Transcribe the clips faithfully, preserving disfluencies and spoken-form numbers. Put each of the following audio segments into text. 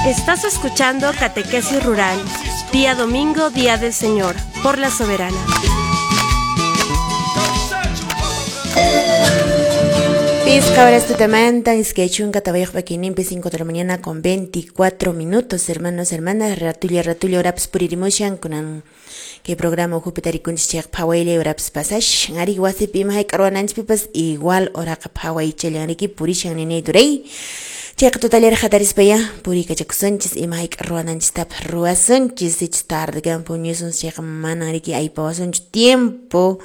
Estás escuchando Catequesis Rural, día domingo, día del Señor, por la Soberana. Pisqa horas tutamanta, iskay chunka tawayuq p'akayninpi, cinco de la mañana con veinticuatro minutos, hermanos, hermanas, ratulla, ratulla horapas puririmushan, kunan kay programa ukhupi tarikunchis chayqa phawayllay horapas pasashan, ari wasipi ima hayk'a ruwananchispipas igual horaqa phawaychallan riki purishan ninay turay. Chayqa tutallaraq hatarispaya puriykachakusunchis, ima hayk'a ruwananchistapas ruwasunchis, sichus tardekan puñusun chayqa manan riki aypawasunchu tiempo.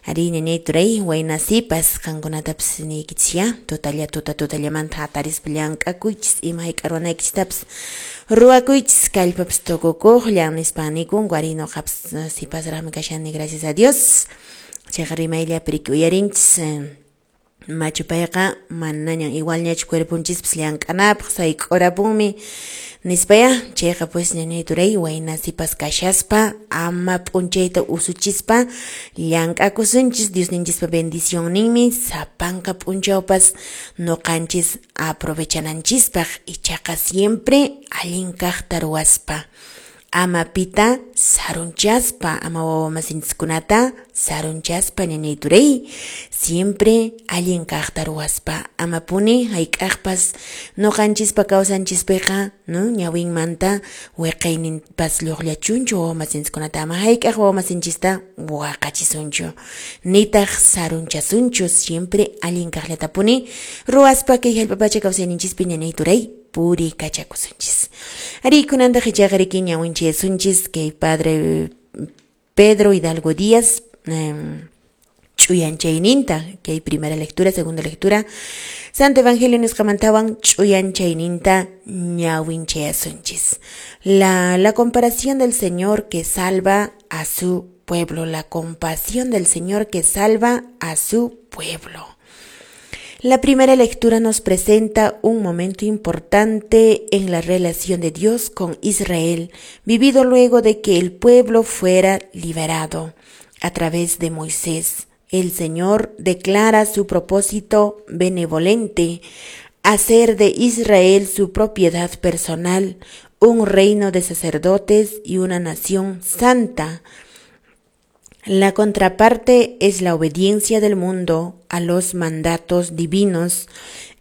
Ari ñañay turay, wayna sipas qankunatapas niykichis ya, tutalla tuta tutallamanta hatarispa llank'akuychis, ima hayk'a ruwanaykichistapas ruwakuychis, kallpapas tukukuqllan nispa nikunku, ari nuqapas sipasraqmi kashani, gracias a Dios. Chayqa rimayllapi riki uyarinchis, machu payqa manañan igualñachu cuerponchispas llank'anapaq sayk'urapunmi nispaya, chayqa pues ñañay turay, wayna sipas kashaspa ama p'unchayta usuchispa llank'akusunchis, Diosninchispa bendicionninmi sapanka p'unchawpas nuqanchis aprovechananchispaq, ichaqa siempre allin kaqta ruwaspa, ama pita sarunchaspa, ama wawamasinchiskunata sarunchaspa ñañay turay, siempre allin kaqta ruwaspa, ama puni hayk'aqpas nuqanchispa kawsanchispiqa, no, ñawinmanta wiqayninpas lluqllachunchu wawamasinchiskunata, ama hayk'aq wawamasinchista waqachisunchu, nitaq sarunchasunchu, siempre allin kaqllatapuni ruwaspa kay hallp'a pacha kawsayninchispi ñañay turay puriykachakusunchis. Ari kunantaq ichaqa riki ñawinchayasunchis kay padre Pedro Hidalgo Díaz eh, ch'uyanchayninta, kay primera lectura, segunda lectura, Santo Evangelio nisqamantawan ch'uyanchayninta ñawinchayasunchis. La, la comparación del Señor que salva a su pueblo, la compasión del Señor que salva a su pueblo. La primera lectura nos presenta un momento importante en la relación de Dios con Israel, vivido luego de que el pueblo fuera liberado a través de Moisés. El Señor declara su propósito benevolente, hacer de Israel su propiedad personal, un reino de sacerdotes y una nación santa. La contraparte es la obediencia del mundo a los mandatos divinos.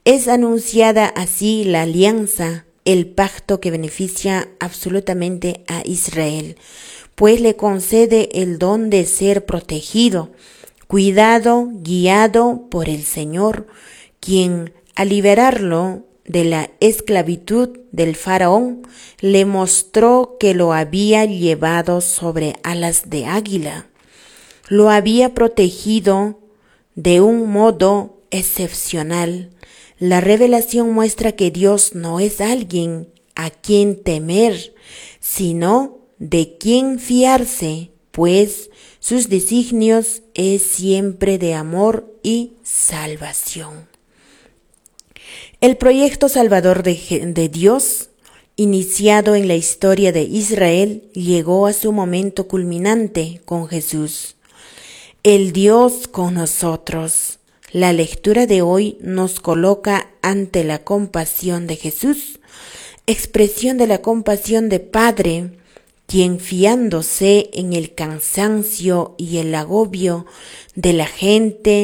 Es anunciada así la alianza, el pacto que beneficia absolutamente a Israel, pues le concede el don de ser protegido, cuidado, guiado por el Señor, quien al liberarlo de la esclavitud del faraón, le mostró que lo había llevado sobre alas de águila. Lo había protegido de un modo excepcional. La revelación muestra que Dios no es alguien a quien temer, sino de quien fiarse, pues sus designios es siempre de amor y salvación. El proyecto salvador de, de Dios, iniciado en la historia de Israel, llegó a su momento culminante con Jesús, el Dios con nosotros. La lectura de hoy nos coloca ante la compasión de Jesús, expresión de la compasión de Padre, quien fiándose en el cansancio y el agobio de la gente,